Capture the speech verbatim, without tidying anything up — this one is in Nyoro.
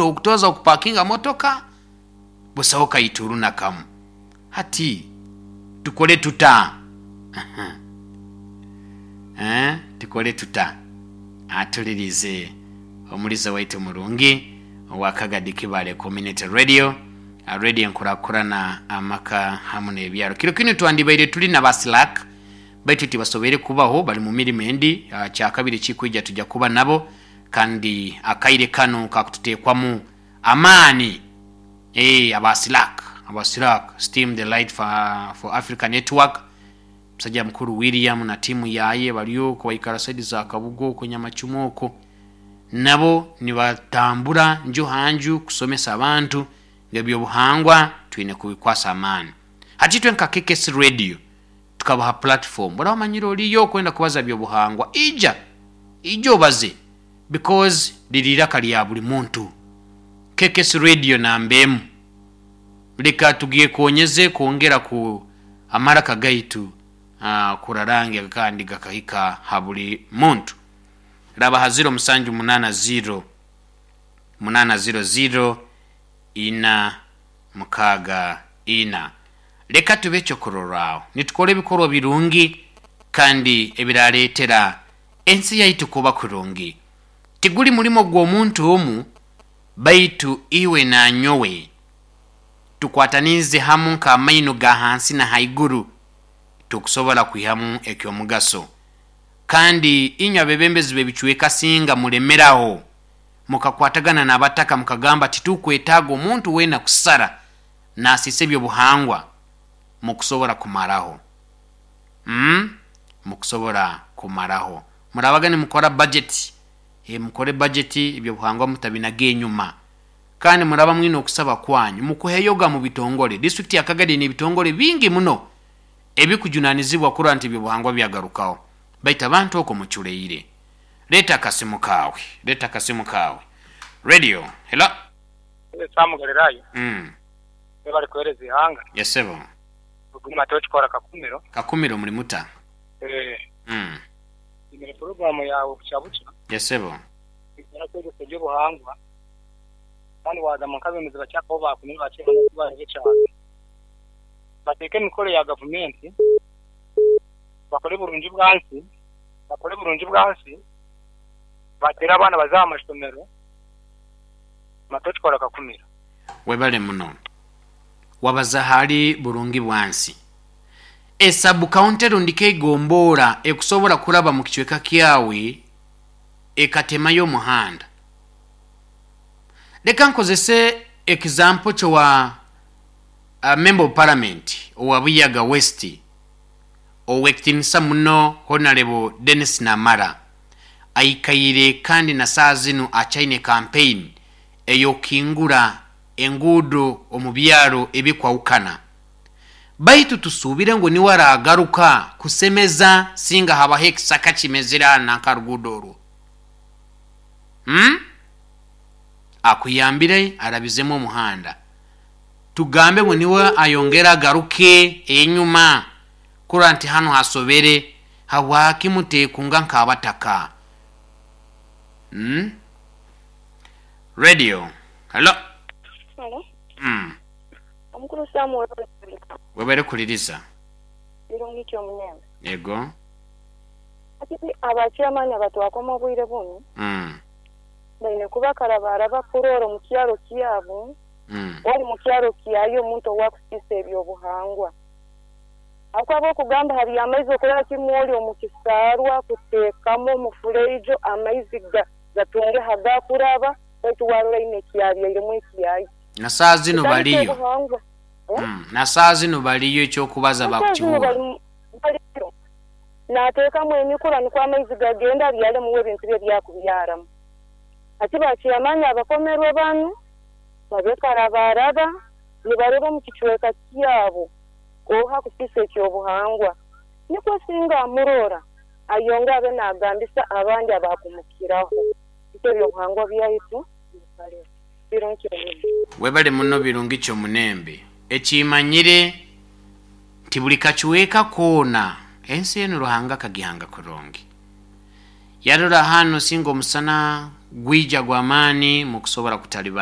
Okutoza okupakinga motoka busaho kaituru na kamu. Hati tukole tuta? Eh, tukole tuta? Atulirize omuliza waitu murungi owa Kagadi Kibale Community Radio, radio enkurakurana amaka hamu n'ebyaro. Kiro kinu twandibaire tuli na basilak, baitu tibasoboire kubaho, bali mu mirimu endi. ah, Kyakabiri kikwija tujja kuba nabo, kandi akaire kanu kakututeekwamu amaani. Eh, abasilak abasilak Steam the Light for, for Africa Network, musajja mukuru William na timu yaye baliyo baikara side za Kabugo okwo, Nyamacumu okwo. Nabo nibatambura nju hanju kusomesa abantu ebyobuhangwa twine kubikwasa amaani. Hati itwe nka K K S Radio tukabaha platform. Bora wamanyire oliyo kwenda kubaza byobuhangwa, ija ija obaze, because liri iraka lya buli muntu. K K S Radio namba emu. Leka tugyekonyeze kwongera ku amaraka gaitu, uh, kurarange kandi gakahika ha buli muntu. Raba ha zero musanju munana zero munana zero zero ina mukaaga ina. Leka tube ekyokurorraho nitukora ebikorwa birungi kandi ebirareetera ensi yaitu kuba kurungi. Tiguli mulimo gw'omuntu omu, baitu iwe nanyowe tukwatanize hamu nk'amaino ga hansi na haiguru, tukusobola kwihamu ekyomugaso. Kandi inywe abebembezi b'ebicweka, singa mulemeraho mukakwatagana n'abataka, mukagamba titukwetaaga omuntu weena kusara nasiisa ebyobuhangwa, mukusobora kumaraho, mm? Mukusobora kumaraho. Murabaga nimukora budget, e, mukore budget, ebyobuhangwa mutabinaga enyuma. Kandi muraba mwine okusaba kwanyu, mukuheyoga mu bitongole. District ya Kagadi n'ebitongole bingi muno ebikujunanizibwa kurora nti ebyobuhangwa byagarukaho, baitu abantu okwo muculeire. Leeta akasimu kaawe, leeta akasimu kaawe. Radio, hello. Samu Galirayo. mm. Bari kuhereza ihanga. Yesebo. Ruguma tochikora Kakumiro. Kakumiro muri muta? Eh. mm. Imere programu yawe kucyabuca. Yesebo. Ikora kwegesa eby'obuhangwa, kandi wagamba nk'abemezi bakyakaho bakumire bakye barebe cyane bateeke emikoro ya gavumenti, bakore burungi bwansi, bakore burungi bwansi, batere abaana baza aha mashomero. Matochikora Kakumiro. Webale muno. Wabaza hali burungi bwansi, esabu kaunti rundi keigomboora ekusobola kuraba mu kicweka kyawe ekatemayo omuhanda. Leka nkozese example kyowa uh, member of parliament owa Buyaga West, owekitinisa muno Honorable Dennis Namara, aikaire kandi na saa zinu achaine campaign eyokingura enguudo omu byaro ebikwawukana. Baitu tusuubire ngu niwe aragaruka kusemeza singa habaho ekisaka kimezere hano nankaruguudo orwo, hmm? Akuyambire arabizemu omuhanda, tugambe ngu niwe ayongere agaruke enyuma kurora nti hano hasobere. Habwaki mutekunga nk'abataka, hmm? Radio, hello. Halo, mm. omukuru Samuel. Webere kuliriza. Birungi kyomunembe. Yego. Ati abachairman abatwakoma obwire bunu mm. baine kuba karabara bakurora omu kyaro kyabo. Mm. Wali mu kyaro kyayo omuntu owakusiisa ebyobuhangwa, akwaba okugamba hari amaizi okuraba kimwe oli omu kisaarwa kuteekamu omufureijo amaizi ga- gatunge hagakuraba, baitu warora ine ekyabyairemu ekyayi. Na saa zino baliyo. Ebyobuhangwa. mm. na saa zino baliyo, ekyokubaza bakukiwura. Baliyo nateekamu emikura nikwo amaizi gagenda abyalemuwo ebintu bye byakubyaramu. Ati bakyamaani abakomerwe banu babe karabaraba nibareba omu kicweka kyabo oha kusiisa ekyobuhangwa, nikwo singa amurora ayonge abe nagambisa abandi abakumukiraho iko ebyobuhangwa byaitu bikaleho. Birungi kyonyini. Webale muno, birungi kyomunembe. Ekimanyire nti buli kacweka koona ensi enu Ruhanga akagihanga kurungi. Yarora hano singa omusana gwija gw'amaani mukusobora kutalibana.